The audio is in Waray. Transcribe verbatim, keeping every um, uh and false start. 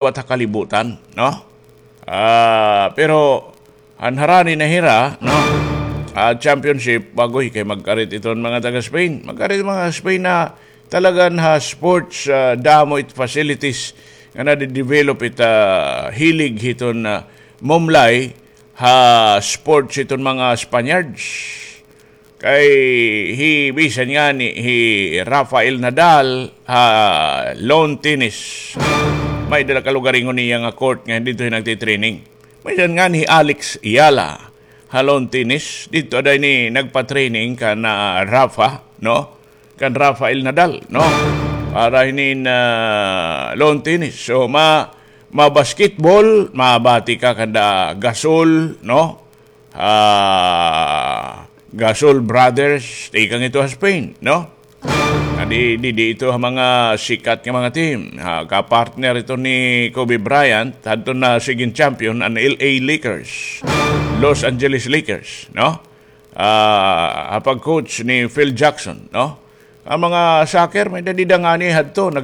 liwat ha kalibutan, no? Ah, pero han harani na hira, no? Ah, championship, bagoy kay magkarit iton mga taga Spain. Magkarit mga Spain na talagan ha sports, ah, damo it facilities nga nade-develop it, ah, hilig hiton, ah, mumlay ha sports hiton mga Spaniards. Kay hi, bisan ngani hi Rafael Nadal ha lawn tennis. May-ada la kalugaringon niya nga court nga didto hin nagtitraining. Bisan ngani hi Alex Eala ha lawn tennis, didto ada ini nagpa-training kan, ah, Rafa, no? Kan Rafael Nadal, no? Para hinin, ah, lawn tennis. So, ma-, ma-basketball, mabati ka kanda Gasol, no? Ah, Gasol Brothers, tikang ito ha Spain, no? Adi, di, di ito ha mga sikat nga mga team. Ha, ka-partner ito ni Kobe Bryant, hadto na sigin champion an L A Lakers, Los Angeles Lakers, no? Ah, ha pag-coach ni Phil Jackson, no? An mga soccer, may-ada dida ngani hadto,